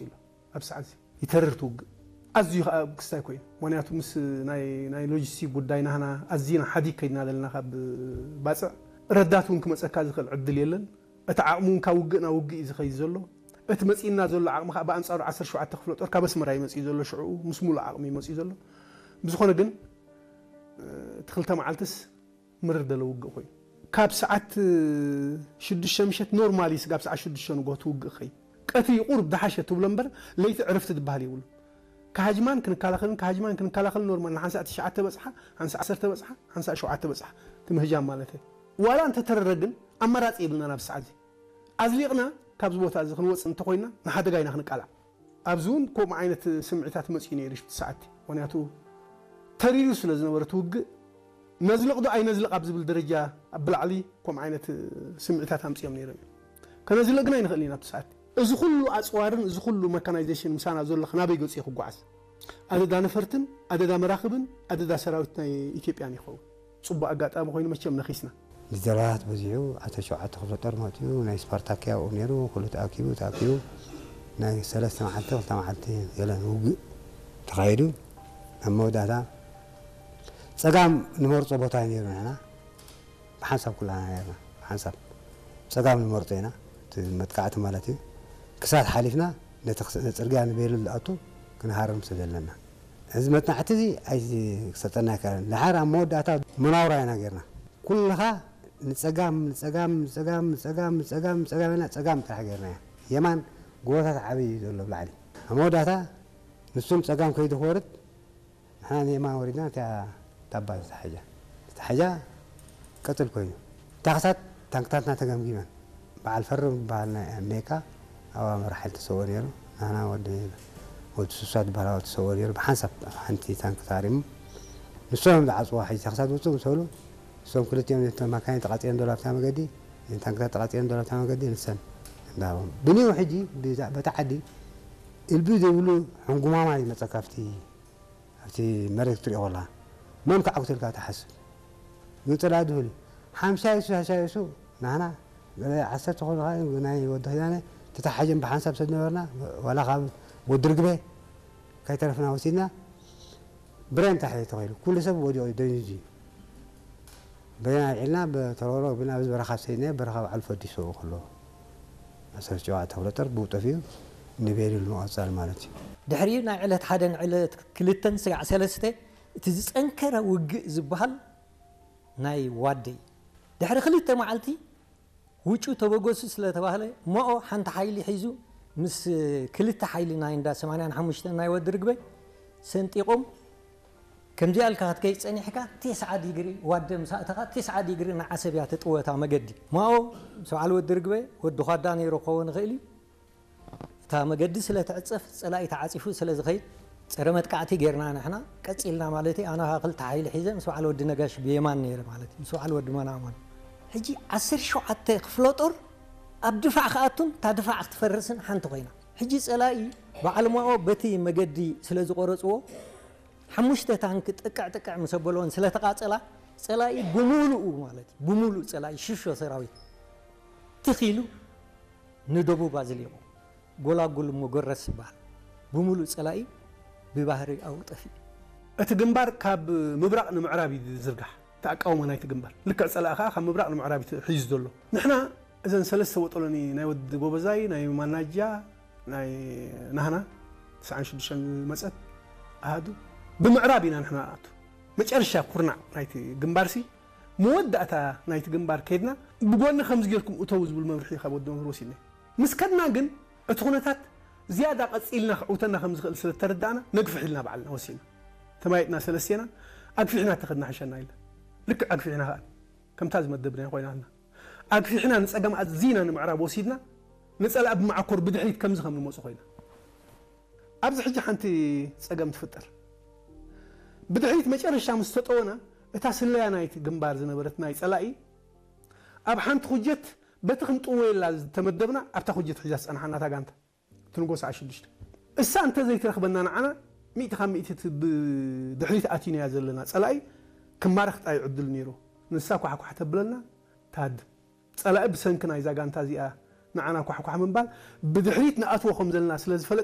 ኢሉ። ኣብ ሰዓት እዚ ይተርር ትውግእ። ኣዝዩ ከዓ ክስታይ ኮይኑ። ምኽንያቱ ምስ ናይ፣ ናይ ሎጂስቲክ ጉዳይ ናህና ኣዝና ሓዲግ ከይድና ዘለና ካብ ባጽዕ ረዳት እውን ክመጸካ ዝኽእል ዕድል የለን። እቲ ዓቕሚ እውን ካብ ውግእ ናብ ውግእ እዩ ዝኸይድ ዘሎ። እቲ መጺእና ዘሎ ዓቕሚ ከዓ ብኣንጻሩ ዓሰርተ ሸውዓተ ክፍለ ጦር ካብ ኣስመራ እዩ መጺኡ ዘሎ። ሽዕኡ ምስ ሙሉእ ዓቕሚ እዩ መጺኡ ዘሎ። ብዝኾነ ግን፣ እቲ ክልተ መዓልትስ ምርር ደለ ውግእ ኮይኑ። ካብ ሰዓት ሽዱሽተ ምሸት ኖርማሊ ስጋብ ሰዓት ሽዱሽተ ንጎ ትውግእ ኸይ። ቀትሪ ቁርብ ደሓሸ ትብሎ እምበር ለይቲ ዕረፍቲ ዝበሃል የብሉ። ካሃጅማን ክንከላኸልን ካሃጅማን ክንከላኸልን ኖርማል ንሓንሳእ ትሽዓተ በጽሓ፣ ሓንሳእ ዓሰርተ በጽሓ፣ ሓንሳእ ሸውዓተ በጽሓ ትምህጃም ማለት እዩ። ዋላ እንተተረረ ግን ኣማራጺ የብልና ናብ ሰዓት እዚ። ኣዝሊቕና ካብዚ ቦታ እዚ ክንወጽእ እንተኾይና ንሓደጋ ኢና ክንቃላዕ። ኣብዚ እውን ከምኡ ዓይነት ስምዒታት መፂኡ ነይሩ ሽፍቲ ሰዓቲ። ምኽንያቱ ተሪሩ ስለ ዝነበረ እቲ ውግእ ነዝልቕ ዶ ኣይነዝልቕ ኣብ ዝብል ደረጃ ኣብ ብላዕሊ ከምኡ ዓይነት ስምዒታት ኣምፂኦም ነይሮም እዮም። ከነዝልቕ ግን ኣይንኽእልን ኢና ኣብቲ ሰዓቲ። እዚ ኩሉ ኣፅዋርን እዚ ኩሉ መካናይዜሽን ምሳና ዘሎ ናበይ ገፂ ክጓዓዝ? ኣደዳ ነፈርትን ኣደዳ መራኽብን ኣደዳ ሰራዊት ናይ ኢትዮጵያን ይኸውን። ፅቡቅ ኣጋጣሚ ኮይኑ መቸም ነኺስና። ጀላባት በዚሑ ኣተ ሸውዓተ ክፍለ ጦር መጥኡ ናይ ስፓርታኪያ ኣብኡ ነይሩ። ኩሉ ተኣኪቡ ተኣኪቡ ናይ ሰለስተ መዓልቲ ክልተ መዓልቲ ገለን ውግእ ተኻይዱ ኣብ መወዳእታ ጸጋም ንመርጾ ቦታ እዩ ነይሩ። ንሕና ብሓንሳብ ኩላና ነርና ብሓንሳብ ጸጋም ንመርጾ ኢና፣ እቲ መጥቃዕቲ ማለት እዩ። ክሳት ሓሊፍና ነቲ ጽርግያ ንቤሉ ዝኣቱ ክንሃርም ስለ ዘለና እዚ መጽናዕቲ እዚ ኣይሰጠና ኣይከኣለን። ድሓር ኣብ መወዳእታ መናውራ ኢና ጌርና። ኩልኻ ንጸጋም ንጸጋም ንጸጋም ንጸጋም ንጸጋም ንጸጋም ኢና ጸጋም ጥራሕ ጌርና። የማን ጎቦታት ዓብይ እዩ ዘሎ ብላዕሊ። ኣብ መወዳእታ ንሱም ጸጋም ከይዱ ክወርድ ንሕና ንየማን ወሪድና። እቲኣ ታባ ዝተሓጃ ዝተሓጃ ቀጽል ኮይኑ ታኽሳት ታንክታትና ተገምጊመን። በዓል ፈርም ዝበሃል ናይ ኣሜሪካ ኣብ ኣመራ ሓይሊ ተሰውኦ ነይሩ። ናና ወዲ ወዲ ሱሳ ዝበሃል ኣብ ተሰውኦ ነይሩ። ብሓንሳብ ሓንቲ ታንክ ታሪሙ ንሶም ዝዓፅዋ ሕጂ ታኽሳት ውፅእ ምስ በሉ እሶም ክልቲኦም ነቶም ማካይን ተቃፂለን ዘሎ ኣብታ መገዲ ታንክታት ተቃፂለን ዘሎ ኣብታ መገዲ ንሰን እንዳሃቦም ብኒው ሕጂ በታ ዓዲ እልቢ ዘይብሉ ሕንጉማማ ይመፀካ ኣብቲ ኣብቲ መሬት ክትሪኦ ከለኻ መን ከዓ ክትልካ ትሓስብ። ግን ፅላኢ ድሁል ሓምሳ ይሱ ሓምሳ ይሱ ናህና ገለ ዓሰርተ ኮይኑ ከዓ ናይ ወዲ ኪዳነ ተታሓጀን ብሓንሳብ ሰብ ነበርና። ዋላ ካብ ወዲ ርግበ ከይተረፍና ወሲድና ብሬን ታሒ ተኸይሉ ኩሉ ሰብ ወዲቑ ደንዝዩ ብሬን ኣልዒልና ብተረሮ ብና ኣብዚ በረኻ ሰይነ በረኻ ባዕሉ ፈዲሱ ከሎ ዓሰርተ ሸውዓተ ክፍለ ጦር ብኡ ጠፊኡ ንቤሪል ምቐጻል ማለት እዩ። ድሕሪኡ ናይ ዕለት ሓደን ዕለት ክልተን ስጋዕ ሰለስተ እቲ ዝጸንከረ ውግእ ዝበሃል ናይ ዋደይ ድሕሪ ክልተ መዓልቲ ውጩ ተበገሱ ስለ ተባህለ ማኦ ሓንቲ ሓይሊ ሒዙ ምስ ክልተ ሓይሊ ናይ እንዳ ሰማንያን ሓሙሽተን ናይ ወዲ ርግበ ሰንጢቖም ከምዚኣ ኢልካ ክትከይድ ጸኒሕካ ቴስዓ ዲግሪ ዋደ ምስ ኣእተኻ ቴስዓ ዲግሪ ንዓሰብ እያ ትጥወታ መገዲ። ማኦ ምስ በዓል ወዲ ርግበ ወዲ ኳዳ ነይሩ ክኸውን ይኽእል እዩ። እታ መገዲ ስለ ትዕጸፍ ጸላኢ ተዓጺፉ ስለ ዝኸይድ ጸረ መጥቃዕቲ ጌርና ንሕና ቀጺልና ማለት እዩ። ኣነ ኸዓ ክልተ ሓይሊ ሒዘ ምስ በዓል ወዲ ነጋሽ ብየማን ነይረ ማለት እዩ። ምስ በዓል ወዲ መናማን ሕጂ ዓሰርተ ሸውዓተ ክፍለ ጦር ኣብ ድፋዕ ክኣቱን እታ ድፋዕ ክትፈርስን ሓንቲ ኮይና ሕጂ ጸላኢ በዓል ማኦ በቲ መገዲ ስለ ዝቆረጽዎ ሓሙሽተ ታንክ ጥቅዕ ጥቅዕ ምስ ኣበልወን ስለ ተቃጸላ ጸላኢ ብምሉኡ ማለት እዩ ብምሉእ ጸላኢ ሽሾ ሰራዊት ትኺሉ ንደቡብ ኣዝሊቑ ጎላጉል እሞ ጎረስ ይበሃል ብምሉእ ጸላኢ ብባህሪ ኣብኡ ጠፊኡ። እቲ ግንባር ካብ ምብራቕ ንምዕራብ እዩ ዝዝርጋሕ እቲ ኣቃውማ ናይቲ ግንባር ልክዕ ጸላኢ ከዓ ካብ ምብራቕ ንምዕራብ እዩ ሒዙ ዘሎ። ንሕና እዘን ሰለስተ ወጠሎኒ ናይ ወዲ ጎበዛይ ናይ ማናጃ ናይ ናህና ትስዓን ሽዱሽተን ዝመጸት ኣሃዱ ብምዕራብ ኢና ንሕና ንኣቱ። መጨረሻ ኩርናዕ ናይቲ ግንባርሲ መወዳእታ ናይቲ ግንባር ከይድና ብጎኒ ከምዚ ጌርኩም እተው ዝብል መምርሒ ካብ ወዲ መምህር ወሲድና። ምስ ከድና ግን እቲ ኩነታት ዝያዳ ቀጺልና ክዕውተና ከም ዝኽእል ስለ ተረዳእና ነግፍሕ ኢልና ባዕልና ወሲድና። ተማይጥና ሰለስቴና ኣግፊሕና ተኸድና ሕሸና ኢልና። ልክዕ ኣግፊሕና ከኣ ከምታ ዝመደብና ኮይና ኣልና። ኣግፊሕና ንጸጋም ኣዚና ንምዕራብ ወሲድና ንጸላእ ብመዓኮር ብድሕሪት ከምዚ ከም ንመጹ ኮይና። ኣብዚ ሕጂ ሓንቲ ጸገም ትፍጠር። ብድሕሪት መጨረሻ ምስ ተጠወና እታ ስለያ ናይቲ ግንባር ዝነበረት ናይ ጸላኢ ኣብ ሓንቲ ኩጀት በቲ ክንጥወየላ ዝተመደብና ኣብታ ኩጀት ሒዛ ዝጸንሓና እታ ጋንታ ትንጎ ሰዓት ሽዱሽተ እሳ እንተ ዘይትረኽበና ንዓና ሚእቲ ካብ ሚእቲ እቲ ብድሕሪት ኣቲናያ ዘለና ጸላኢ ክማረኽ ጥራይ ዕድል ነይሩ። ንሳ ኳሕኳሕ ተብለና ትሃድም። ጸላኢ ብሰንኪ ናይዛ ጋንታ እዚኣ ንዓና ኳሕኳሕ ምባል ብድሕሪት ንኣትዎ ከም ዘለና ስለ ዝፈለጠ